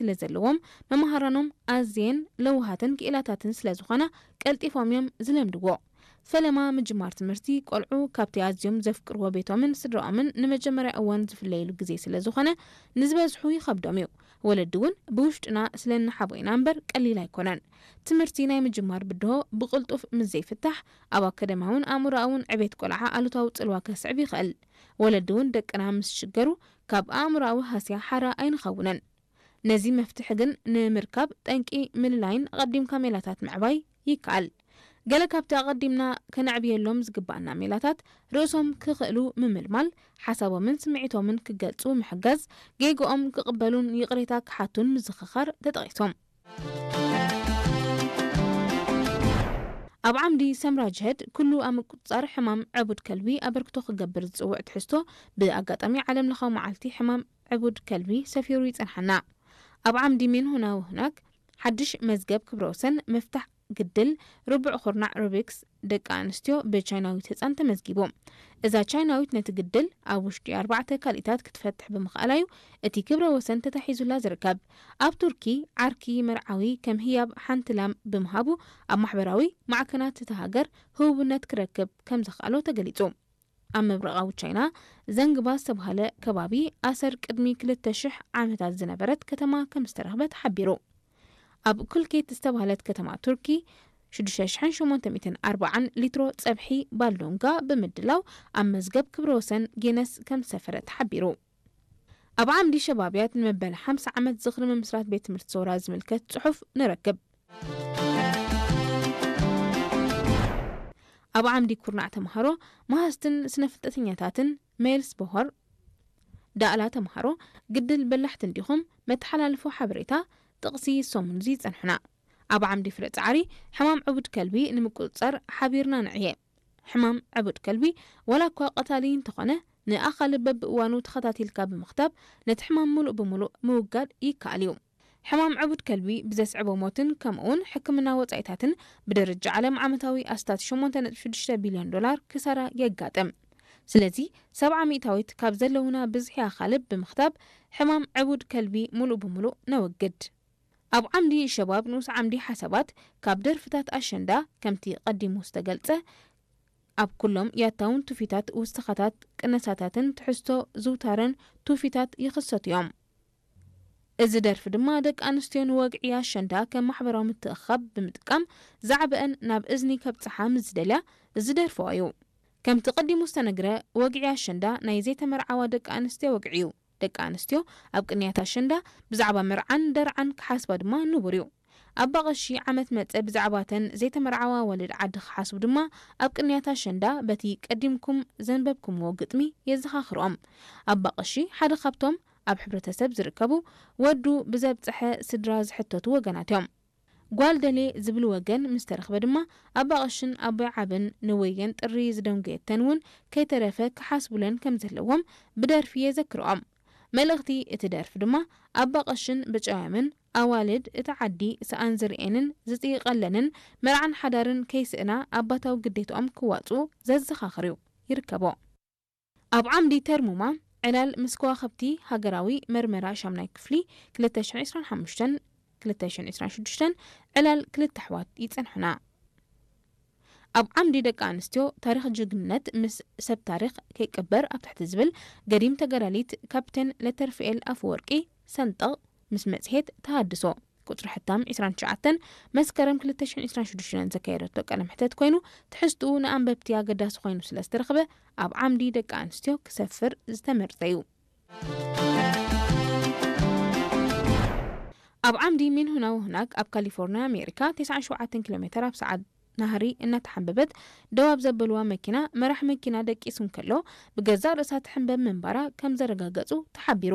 ስለ ዘለዎም፣ መምሃራኖም ኣዝየን ለዋሃትን ክኢላታትን ስለ ዝኾና፣ ቀልጢፎም እዮም ዝለምድዎ። ፈለማ ምጅማር ትምህርቲ፣ ቆልዑ ካብቲ ኣዝዮም ዘፍቅርዎ ቤቶምን ስድራኦምን ንመጀመርያ እዋን ዝፍለይሉ ግዜ ስለ ዝኾነ፣ ንዝበዝሑ ይኸብዶም እዩ። ወለዲ እውን፣ "ብውሽጥና ስለ እንሓቦ ኢና እምበር ቀሊል ኣይኮነን።" ትምህርቲ ናይ ምጅማር ብድሆ ብቕልጡፍ ምስ ዘይፍታሕ፣ ኣብ ኣካዳሚያውን ኣእምሮኣውን ዕቤት ቆልዓ ኣሉታዊ ጽልዋ ከስዕብ ይኽእል። ወለዲ እውን፣ ደቅና ምስ ሽገሩ፣ ካብ ኣእምሮኣዊ ሃስያ ሓራ ኣይንኸውንን። ነዚ መፍትሒ ግን ንምርካብ፣ ጠንቂ ምልላይን ኣቐዲምካ ሜላታት ምዕባይ ይከኣል። ገለ ካብቲ ኣቐዲምና ከነዕብየሎም ዝግባኣና ሜላታት፣ ርእሶም ክኽእሉ ምምልማል፣ ሓሳቦምን ስምዒቶምን ክገልጹ ምሕጋዝ፣ ጌግኦም ክቕበሉን ይቕሬታ ክሓቱን ምዝኽኻር ተጠቒሶም። ኣብ ዓምዲ ሰምራ ጅሀድ፣ ኩሉ ኣብ ምቁጽጻር ሕማም ዕቡድ ከልቢ ኣበርክቶ ክገብር ዝጽውዕ ትሕዝቶ፣ ብኣጋጣሚ ዓለም ለኻዊ መዓልቲ ሕማም ዕቡድ ከልቢ ሰፊሩ ይጸንሓና። ኣብ ዓምዲ ሜን ሁና ወሁናክ፣ ሓድሽ መዝገብ ክብረ ወሰን፣ ምፍታሕ ግድል ርቡዕ ኩርናዕ ሩቢክስ ደቂ ኣንስትዮ ብቻይናዊት ህጻን ተመዝጊቡ። እዛ ቻይናዊት ነቲ ግድል ኣብ ውሽጢ ኣርባዕተ ካልኢታት ክትፈትሕ ብምኽኣላ እዩ እቲ ክብረ ወሰን ተታሒዙላ ዝርከብ። ኣብ ቱርኪ፣ ዓርኪ መርዓዊ ከም ህያብ ሓንቲ ላም ብምሃቡ፣ ኣብ ማሕበራዊ ማዕከናት እታ ሃገር ህቡብነት ክረክብ ከም ዘኽኣሎ ተገሊጹ። ኣብ ምብራቓዊ ቻይና፣ ዘንግባ ዝተባህለ ከባቢ፣ ኣሰር ቅድሚ ክልተ ሽሕ ዓመታት ዝነበረት ከተማ ከም ዝተረኽበ ተሓቢሩ። ኣብ ኩልኬት ዝተባህለት ከተማ ቱርኪ፣ ሽዱሽተ ሽሕን ሸሞንተ ሚእትን ኣርባዓን ሊትሮ ጸብሒ ባልዶንጋ ብምድላው፣ ኣብ መዝገብ ክብረ ወሰን ጌነስ ከም ዝሰፈረ ተሓቢሩ። ኣብ ዓምዲ ሸባብያት፣ ንመበል ሓምሳ ዓመት ዝኽሪ ምምስራት ቤት ትምህርቲ ሰውራ ዝምልከት ጽሑፍ ንረክብ። ኣብ ዓምዲ ኩርናዕ ተምሃሮ፣ መሃዝትን ስነ ፍልጠተኛታትን፣ ሜልስ ቦሆር፣ ዳእላ ተምሃሮ፣ ግድል በላሕቲ እንዲኹም፣ መተሓላልፎ ሓበሬታ፣ ጥቕሲ ሰሙን እዚ ይጸንሑና። ኣብ ዓምዲ ፍረ ጻዕሪ፣ ሕማም ዕቡድ ከልቢ ንምቁጽጻር ሓቢርና ንዕየ። ሕማም ዕቡድ ከልቢ፣ ዋላ እኳ ቀታሊ እንተኾነ፣ ንኣኻልብ በብእዋኑ ተኸታቲልካ ብምኽታብ፣ ነቲ ሕማም ምሉእ ብምሉእ ምውጋድ ይከኣል እዩ። ሕማም ዕቡድ ከልቢ ብዘስዕቦ ሞትን ከምኡውን ሕክምና ወጻኢታትን፣ ብደረጃ ዓለም ዓመታዊ ኣስታት ሸሞንተ ነጥቢ ሽዱሽተ ቢልዮን ዶላር ክሳራ የጋጥም። ስለዚ፣ ሰብዓ ሚእታዊት ካብ ዘለውና ብዝሒ ኣኻልብ ብምኽታብ፣ ሕማም ዕቡድ ከልቢ ምሉእ ብምሉእ ነወግድ። ኣብ ዓምዲ ሸባብ ንኡስ ዓምዲ ሓሳባት፣ ካብ ደርፍታት ኣሸንዳ፣ ከምቲ ቀዲሙ ዝተገልጸ፣ ኣብ ኩሎም ያታውን ትውፊታት ውስኻታት፣ ቅነሳታትን ትሕዝቶ ዝውታረን ትውፊታት ይኽሰቱ እዮም። እዚ ደርፊ ድማ ደቂ ኣንስትዮ ንወግዒ ኣሸንዳ ከም ማሕበራዊ ምትእኽኻብ ብምጥቃም ዛዕበአን ናብ እዝኒ ከብጽሓ ምስ ዝደልያ ዝደርፍኦ እዩ። ከምቲ ቀዲሙ ዝተነግረ፣ ወግዒ ኣሸንዳ ናይ ዘይተመርዓዋ ደቂ ኣንስትዮ ወግዒ እዩ። ደቂ ኣንስትዮ ኣብ ቅንያት ኣሸንዳ ብዛዕባ መርዓን ደርዓን ክሓስባ ድማ ንቡር እዩ። ኣባ ቀሺ ዓመት መጸ ብዛዕባተን ዘይተመርዓዋ ወለድ ዓዲ ክሓስቡ ድማ ኣብ ቅንያት ኣሸንዳ በቲ ቀዲምኩም ዘንበብኩምዎ ግጥሚ የዘኻኽርኦም። ኣባ ቀሺ ሓደ ካብቶም ኣብ ሕብረተሰብ ዝርከቡ ወዱ ብዘብጽሐ ስድራ ዝሕተቱ ወገናት እዮም። ጓል ደልየ ዝብል ወገን ምስ ተረኽበ ድማ ኣባ ቀሽን ኣቦይ ዓብን ንወየን ጥሪ ዝደንጎየተን እውን ከይተረፈ ክሓስቡለን ከም ዘለዎም ብደርፊ የዘክርኦም። መልእኽቲ እቲ ደርፊ ድማ ኣባ ቀሽን ብጨውያምን ኣዋልድ እቲ ዓዲ ሰኣን ዝርእየንን ዝጥይቐለንን መርዓን ሓዳርን ከይስእና ኣባታዊ ግዴትኦም ክዋፅኡ ዘዘኻኽር እዩ። ይርከቦ። ኣብ ዓምዲ ተርሙማ ዕላል ምስ ከዋኽብቲ ሃገራዊ መርመራ ሻምናይ ክፍሊ ክልተ ሽሕን ዕስራን ሓሙሽተን ክልተ ሽሕን ዕስራን ሽዱሽተን ዕላል ክልተ ኣሕዋት ይጸንሑና። ኣብ ዓምዲ ደቂ ኣንስትዮ ታሪኽ ጅግንነት ምስ ሰብ ታሪኽ ከይቅበር ኣብ ትሕቲ ዝብል ገዲም ተጋዳሊት ካፕቴን ለተርፍኤል ኣፈወርቂ ሰንጠቕ ምስ መጽሔት ተሃድሶ ቁጽሪ ሕታም ዕስራን ትሽዓተን መስከረም ክልተ ሽሕን ዕስራን ሽዱሽተን ዘካየደቶ ቃለ መሕተት ኮይኑ፣ ትሕዝትኡ ንኣንበብቲ ኣገዳሲ ኮይኑ ስለ ዝተረኽበ፣ ኣብ ዓምዲ ደቂ ኣንስትዮ ክሰፍር ዝተመርጸ እዩ። ኣብ ዓምዲ ሚንሁና ወሁናግ ኣብ ካሊፎርኒያ ኣሜሪካ፣ ተስዓን ሸውዓተን ኪሎ ሜተር ኣብ ሰዓት ናህሪ እናተሓንበበት ደው ኣብ ዘበልዋ መኪና፣ መራሕ መኪና ደቂሱ እንከሎ፣ ብገዛእ ርእሳ ትሕንበብ ምንባራ ከም ዘረጋገጹ ተሓቢሩ።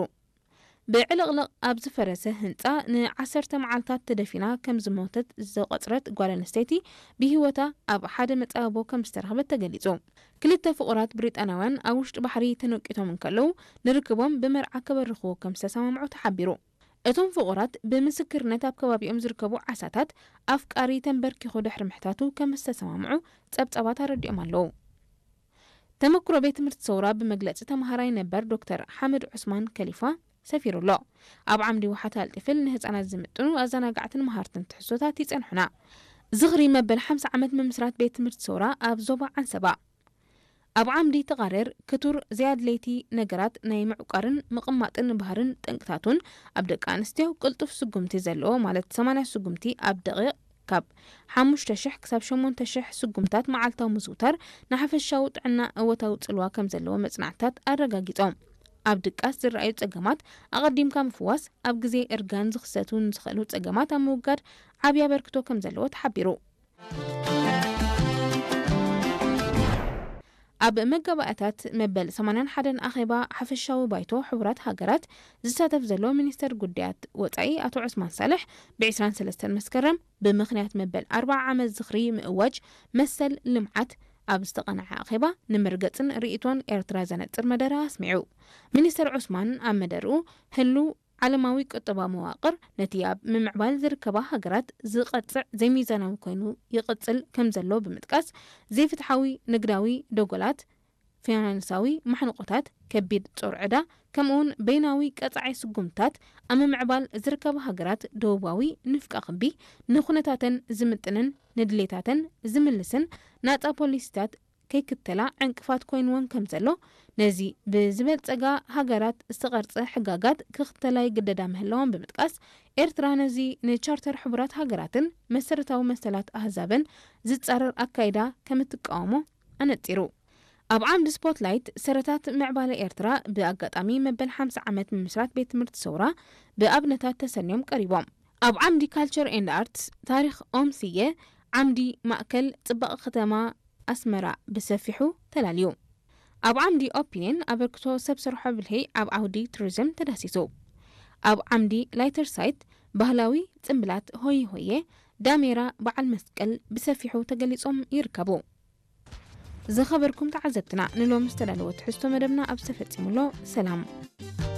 ብዕልቕልቕ ኣብ ዝፈረሰ ህንጻ ንዓሰርተ መዓልታት ተደፊና ከም ዝሞተት ዝተቖጽረት ጓል ኣንስተይቲ፣ ብህይወታ ኣብ ሓደ መጻብቦ ከም ዝተረኽበት ተገሊጹ። ክልተ ፍቑራት ብሪጣንያውያን ኣብ ውሽጢ ባሕሪ ተነቂቶም እንከለዉ፣ ንርክቦም ብመርዓ ከበርኽዎ ከም ዝተሰማምዑ ተሓቢሩ። እቶም ፍቑራት፣ ብምስክርነት ኣብ ከባቢኦም ዝርከቡ ዓሳታት፣ ኣፍቃሪ ተንበርኪኹ ድሕሪ ምሕታቱ ከም ዝተሰማምዑ ጸብጻባት ኣረዲኦም ኣለዉ። ተመክሮ ቤት ትምህርቲ ሰውራ ብመግለጺ ተመሃራይ ነበር ዶክተር ሓመድ ዑስማን ከሊፋ፣ ሰፊሩ ኣሎ። ኣብ ዓምዲ ዋሓት ኣልጢፍል ንህፃናት ዝምጥኑ ኣዘናጋዕትን መሃርትን ትሕዝቶታት ይፀንሑና። ዝኽሪ መበል ሓምሳ ዓመት ምምስራት ቤት ትምህርቲ ሰውራ ኣብ ዞባ ዓንሰባ። ኣብ ዓምዲ ተቓረር ክቱር ዘይኣድለይቲ ነገራት ናይ ምዕቋርን ምቕማጥን ባህርን ጠንቅታቱን ኣብ ደቂ ኣንስትዮ ቅልጡፍ ስጉምቲ ዘለዎ ማለት ሰማንያ ስጉምቲ ኣብ ደቂቕ ካብ ሓሙሽተ ሽሕ ክሳብ ሸሞንተ ሽሕ ስጉምታት መዓልታዊ ምዝውታር ንሓፈሻዊ ጥዕና እወታዊ ጽልዋ ከም ዘለዎ መጽናዕትታት ኣረጋጊጾም። ኣብ ድቃስ ዝረኣዩ ጸገማት ኣቐዲምካ ምፍዋስ ኣብ ግዜ እርጋን ዝኽሰቱ ንዝኽእሉ ጸገማት ኣብ ምውጋድ ዓብዪ ኣበርክቶ ከም ዘለዎ ተሓቢሩ። ኣብ መጋባእያታት መበል ሰማንያን ሓደን ኣኼባ ሓፈሻዊ ባይቶ ሕቡራት ሃገራት ዝሳተፍ ዘሎ ሚኒስተር ጉዳያት ወጻኢ ኣቶ ዑስማን ሳልሕ ብ ዕስራን ሰለስተን መስከረም ብምኽንያት መበል ኣርብዓ ዓመት ዝኽሪ ምእዋጅ መሰል ልምዓት ኣብ ዝተቐንዐ ኣኼባ ንምርገጽን ርእይቶን ኤርትራ ዘነጽር መደረ ኣስሚዑ። ሚኒስተር ዑስማን ኣብ መደርኡ ህሉ ዓለማዊ ቁጠባዊ መዋቕር ነቲ ኣብ ምምዕባል ዝርከባ ሃገራት ዝቐጽዕ ዘይሚዛናዊ ኮይኑ ይቕጽል ከም ዘሎ ብምጥቃስ ዘይፍትሓዊ ንግዳዊ ደጎላት፣ ፋይናንሳዊ ማሕንቆታት፣ ከቢድ ጾር ዕዳ ከምኡውን በይናዊ ቀጻዒ ስጉምታት ኣብ ምምዕባል ዝርከባ ሃገራት ደቡባዊ ንፍቀ ክቢ ንኹነታተን ዝምጥንን ንድሌታተን ዝምልስን ናጻ ፖሊሲታት ከይክተላ ዕንቅፋት ኮይንወን ከም ዘሎ ነዚ ብዝበልጸጋ ሃገራት ዝተቐርጸ ሕጋጋት ክኽተላ ይግደዳ ምህላወን ብምጥቃስ ኤርትራ ነዚ ንቻርተር ሕቡራት ሃገራትን መሰረታዊ መሰላት ኣህዛብን ዝጻረር ኣካይዳ ከም እትቃወሞ ኣነጺሩ። ኣብ ዓምዲ ስፖትላይት ሰረታት ምዕባለ ኤርትራ ብኣጋጣሚ መበል ሓምሳ ዓመት ምምስራት ቤት ትምህርቲ ሰውራ ብኣብነታት ተሰንዮም ቀሪቦም። ኣብ ዓምዲ ካልቸር ኤንድ ኣርትስ ታሪኽ ኦም ስየ ዓምዲ ማእከል ጽባቐ ከተማ ኣስመራ ብሰፊሑ ተላልዩ። ኣብ ዓምዲ ኦፒንየን ኣበርክቶ ሰብ ሰርሖ ብልሒ ኣብ ዓውዲ ቱሪዝም ተዳሲሱ። ኣብ ዓምዲ ላይተር ሳይት ባህላዊ ጽምብላት ሆየ ሆየ ዳሜራ በዓል መስቀል ብሰፊሑ ተገሊጾም ይርከቡ። ዝኸበርኩም ተዓዘብትና ንሎሚ ዝተዳለወ ትሕዝቶ መደብና ኣብ ዝተፈጺሙሎ ሰላም።